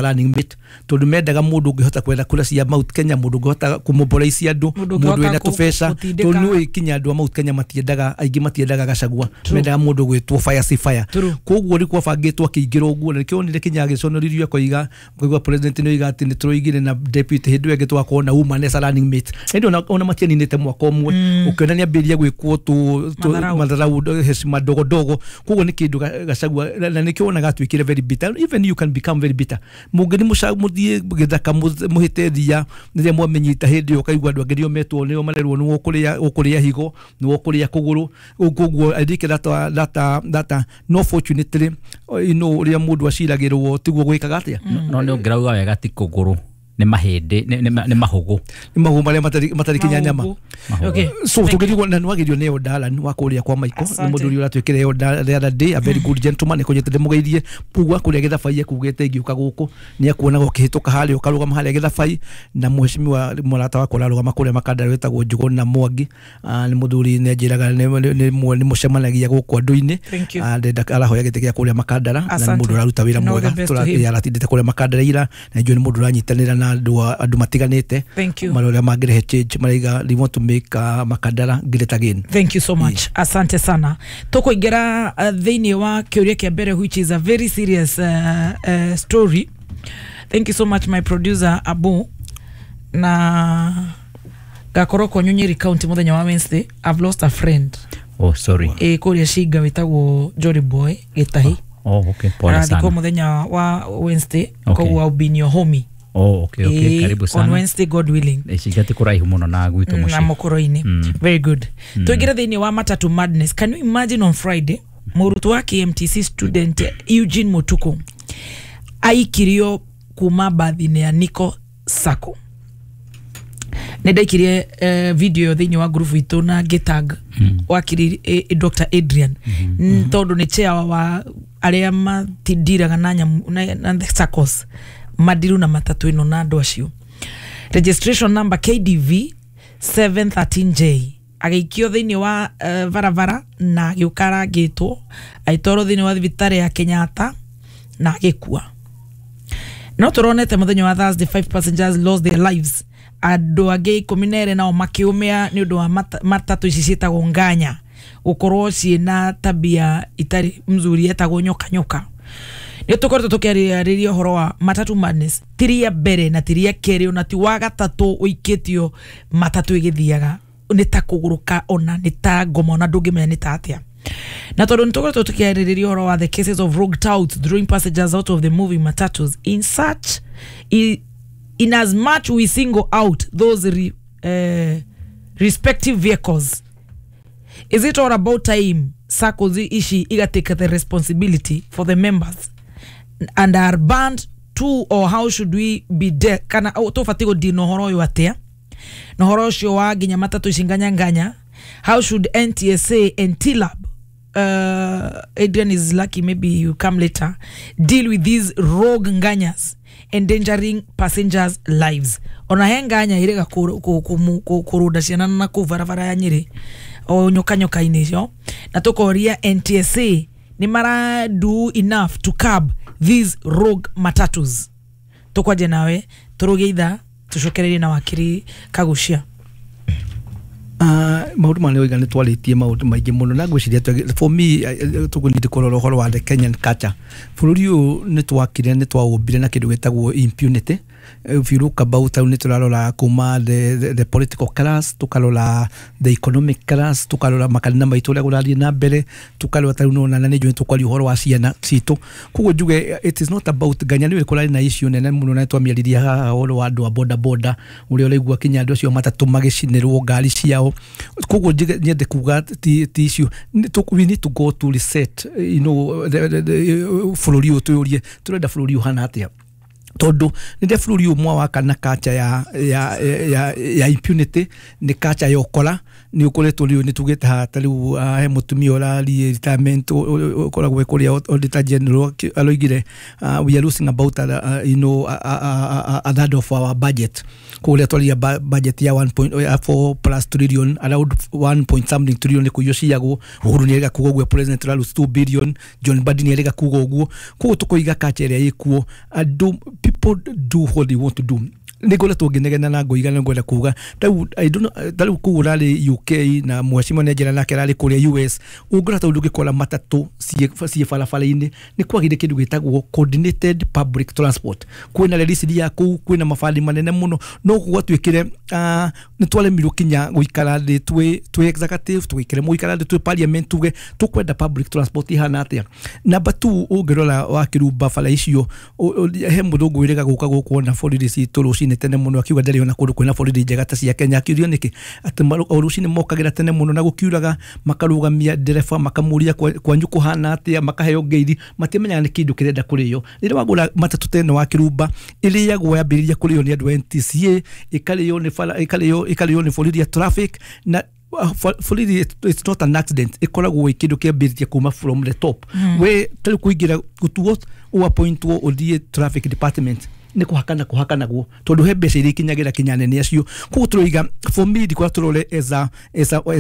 Running mate, tondu mendaga mundu ungihota kwetha kura cia Mount Kenya, mundu ungihota kumobilize andu, mundu wina tubeca, tondu nĩ kinya andu a Mount Kenya matiendaga, aingĩ matiendaga Gachagua, mendaga mundu gwitwo fire si fire. Koguo rĩ kwabangĩtwo akĩingĩra ũguo, na nĩkĩo onire kinya agĩconorithio akoiga, koigua president nĩ oiga atĩ nĩ tũroigire na deputy hĩndĩ ĩyo ĩngĩ twakorwo na woman as a running mate. Ĩndĩ ona matianinĩte mwaka ũmwe, ũkĩona nĩ ambĩrĩria gwĩkwo matharau, heshima ndogo ndogo. Koguo nĩ kĩndũ Gachagua, na nĩkĩo wonaga atuĩkire very bitter. Even you can become very bitter. Mũngĩthi mũthiĩ gĩthaka mũhĩte thia rĩrĩa mwamenyita hĩndĩ ĩyo, ũkaigua andũ angĩ nĩo metwo, nĩo marerwo nĩwe ũkũrĩa higo, nĩwe ũkũrĩa kũgũrũ. Koguo I think that no, fortunately, you know, ũrĩa mũndũ aciragĩrwo tiguo gwĩkaga atĩa. No nĩ ũngĩrauga wega ti kũgũrũ, nĩ mahĩndĩ, nĩ mahũgũ. Nĩ mahũgũ marĩa matarĩ kinya nyama. So tũngĩrigwo na nĩwagĩrio nĩ Odalan wa kũrĩa kwa Michael, nĩ mũndũ ũrĩa ũratuĩkire Elder the other day, a very good gentleman, nĩkũnyĩte ndĩmũgeithie. Koguo kũrĩa Gĩthabai ekugĩte ingĩũka gũkũ nĩ akuonaga ũkĩhĩtũka harĩa ũkarũgama harĩa Gĩthabai, na mheshimiwa mũrata wakwa ũrarũgama kũrĩa Makandara wĩtagwo Njũgũna Mwangi, nĩ mũthuri nĩ anjĩraga nĩ mũcemanagia gũkũ andũ-inĩ, ndenda arahoya gĩtĩ gĩa kũrĩa Makandara, na nĩ mũndũ ũraruta wĩra mwega, aratindĩte kũrĩa Makandara ira, na njũĩ nĩ mũndũ ũranyitanĩra na andũ matiganĩte marĩa mangĩrehe change, maraiga they want to make Makandara great again. Thank you so much. Yeah. Asante sana. Tũkũingĩra thĩinĩ wa kĩũria kĩa mbere, which is a very serious story. Thank you so much, my producer Abu. Na gakorwo kwanyu Nyeri County mũthenya wa Wednesday. I've lost a friend. Oh, sorry. Kũrĩa Shinga wĩtagwo Jolly Boy Gĩtahi. Oh, okay. Pole sana. Arathikwo mũthenya wa Wednesday. Koguo I'll be in your homie. Oh, okay. Karibu sana. On Wednesday, God willing. Ici ti kuraihu muno na gwitũ mũciĩ. Na mũkũrũ-inĩ. Very good. Tũingĩre thĩinĩ wa matatu madness. Can you imagine, on Friday, mũrutwo wa KMTC student Eugene Mutuku aikirio kuma bathi-inĩ ya Nico Sacco. Nĩ ndaikirie video thĩinĩ wa group itũ na ngĩtag wakiri Dr. Adrian, tondũ nĩ chair wa arĩa matindiraga na nyamũ na SACCOs madiru na matatu ĩno na andũ acio. Registration number KDV 713J agĩikio thĩinĩ wa barabara na agĩũka arangĩtwo, agĩtwarwo thĩinĩ wa thibitarĩ ya Kenyatta na agĩkua. No tũronete mũthenya wa Thursday, 5 passengers lost their lives, andũ angĩ 12 nao makĩũmĩa nĩ ũndũ wa matatu ici ciĩtagwo nganya gũkorwo ciĩna tabia itarĩ mzuri, yetagwo nyoka nyoka. Nĩ tũkoretwo tũkĩarĩrĩria ũhoro wa matatu madness, ti ria mbere na ti ria kerĩ ona ti wa gatatũ ũikĩtio matatu ĩgĩthiaga nĩ ta kũgũrũka ona nĩ ta ngoma ona ndũngĩmenya nĩ ta atĩa. Na tondũ nĩ tũkoretwo tũkĩarĩrĩria ũhoro wa the cases of rogue touts drawing passengers out of the moving matatus, in such in as much we single out those respective vehicles, is it all about time SACCOs ici igatake the responsibility for the members and are banned too, or how should we be de kana tũbatiĩ gũdeal na ũhoro ũyũ atĩa, na ũhoro ũcio wa nginya matatu ici nganya nganya? How should NTSA and TLAB, Adrian is lucky, maybe you come later, deal with these rogue nganyas endangering passengers' lives? Ona he nganya irega kũrũnda ciana na kũu barabara ya Nyĩrĩ o nyoka nyoka-inĩ icio, na tũkoria NTSA nĩ mara do enough to curb these rogue matatus? Tũkwanje nawe tũrũge ithaa tũcokererie na wakiri Kagucia. Maũndũ maya nĩoiga nĩ twarĩtie maũndũ maingĩ mũno, na ngwĩciria for me tũkũnĩte kũrora ũhoro wa the Kenyan culture. Bũrũri ũyũ nĩ twakire, nĩ twaũmbire na kĩndũ gĩtagwo impunity. If you look about, nĩ tũrarora kuma the political class, tũkarora the economic class, tũkarora makanitha maitũ ũrĩa kũrathiĩ na mbere, tũkarora tarĩu nĩwona na nĩ njũĩ tũkwaria ũhoro wa ciana citũ. Koguo njuge it is not about nganya, nĩũĩ kũrarĩ na issue nene mũno na twamĩaririe haha ũhoro wa andũ a boda boda, ũrĩa ũraigua kinya andũ acio matatũ magĩcinĩrwo ngari ciao. Koguo nyende kuga ti issue, we need to go to reset, you know, bũrũri ũyũ twĩyũrie tũrenda bũrũri ũhana atĩa, tondu nĩ bũrũri ũmwe waka na culture ya impunity, nĩ culture ya ũkora. Nĩ ũkoretwo rĩu nĩ tugĩte haha ta rĩu he mũtumia ũrariĩ retirement ũkoragwo kũrĩa Auditor General aroigire we are losing about you know, a third of our budget. Kũrĩa twaria budget ya 1.4 plus trillion, around 1 point something trillion nĩ kũiywo ciyagwo. Uhuru nĩ erĩga kuga ũguo, president ũra lose 2 billion, John Mbadi nĩ erĩga kuga ũguo. Koguo tũkoiga culture ĩrĩa ĩkuo, andũ People do what they want to do. Nĩngoretwo ngĩnegena na ngoiga na ngwenda kuga tarĩu, I don't know, tarĩu kũu ũrarĩ UK na mheshimiwa nĩ nake ararĩ kũrĩa US, ũngĩrora tarĩu ndũngĩkora matatũ ciĩ barabara-inĩ. Nĩ kwagĩire kĩndũ gĩtagwo coordinated public transport. Kwĩna reri cithiaga kũu, kwĩna mabandi manene mũno, no gwatuĩkire nĩ twaremirwo kinya gũikara thĩ twĩ executive, tũgĩkĩremwo gũikara thĩ twĩ parliament tuge tũkwenda public transport ihana atĩa. Number two, ũngĩrora wa Kĩrumba bara icio, he mũthũngũ wĩrĩga gũka gũkũ ona borithi citũ rũcinĩ tene mũno, akiuga ndarĩ ona kũndũ kwĩna borithi njega ta cia Kenya. Akiurio nĩkĩ, atĩ o rũcinĩ mokagĩra tene mũno na gũkiuraga, makarũgamia ndereba, makamũria kwanyu kũhana atĩa, makaheo ngeithi, matiamenyaga nĩ kĩndũ kĩrenda kũrĩo. Rĩrĩa wagũra matatũ ta ĩno wa Kĩrumba, ĩrĩagwo yambĩrĩria kũrĩo nĩ andũ a NTCA, ĩkarĩo nĩ bara, ĩkarĩo nĩ borithi ya traffic na borithi. It's not an accident, ĩkoragwo ĩ kĩndũ kĩambĩrĩria kuma from the top. We tarĩu kũingĩra gũtuo ũappointwo ũthiĩ traffic department nĩ kũhakana kũhakanagwo, tondũ he mbeca iria ikinyagĩra kinya nene acio. Koguo tũroiga, for me, ndikora tũrore as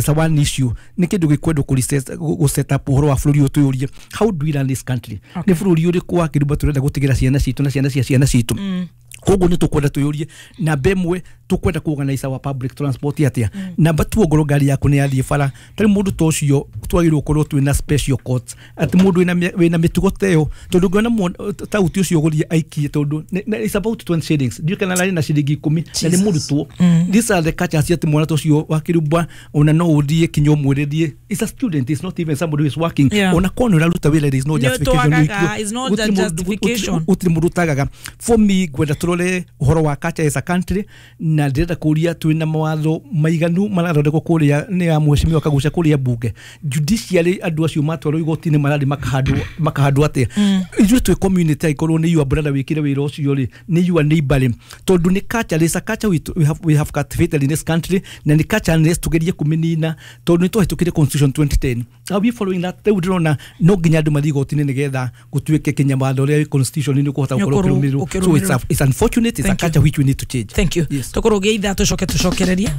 a one issue. Nĩ kĩndũ gĩkwendwo gũ set up ũhoro wa bũrũri ũyũ, twĩyũrie, how do we run this country? Nĩ bũrũri ũrĩkũ wa Kĩrumba tũrenda gũtigĩra ciana citũ na ciana cia ciana citũ? Koguo nĩ tũkwenda twĩyũrie, namba ĩmwe, tũkwenda kũ organize our public transport atĩa? Namba two, ongorwo ngari yaku nĩ yathiĩ bara, tarĩ mũndũ ta ũcio twagĩrĩirwo gũkorwo twĩna special courts, atĩ mũndũ wĩna mĩtugo ta ĩyo, tondũ ngĩona tauti ũcio gũthiĩ aikie, tondũ it's about 20 shillings, ndiũĩ kana ararĩ na ciringi 10 na nĩ mũrutwo. These are the cultures, atĩ mwana ta ũcio wa Kĩrumba ona no ũthiĩ kinya ũmwĩrĩrie. It's a student, it's not even somebody who is working. Ona korwo nĩ ũraruta wĩra, there is no Nĩ justification. twagaga, it's not Gũtirĩ a justification. Gũtirĩ mũndũ ũtagaga. For me, ngwenda tũrore ũhoro wa culture as a country, na ndĩrenda kũria twĩna mawatho maiganu marathondekwo kũrĩa nĩ ya mheshimiwa Kagucia kũrĩa bunge, judiciary, andũ acio matwarwo igoti-inĩ marathiĩ makahandwo atĩa? Ithuĩ twĩ community, angĩkorwo nĩ your brother wĩkire wĩra ũcio rĩ, nĩ your neighbor rĩ, tondũ nĩ culture, is a culture we have cultivated in this country, na nĩ culture nĩ tũgerie kũmĩnina, tondũ nĩ twahĩtũkire constitution 2010. Are we following that? Rĩu ndĩrona no nginya andũ mathiĩ igoti-inĩ nĩgetha gũtuĩke kinya watho ũrĩa wĩ constitution nĩ ũkũhota gũkorwo Nĩ ũkĩrũmĩrĩrwo. So ũkĩrũmĩrĩrwo. it's unfortunate, it's a Thank you. culture which we need to change. Thank you. Yes. Tũkũrũgia ithaa, tũcoke tũcokererie.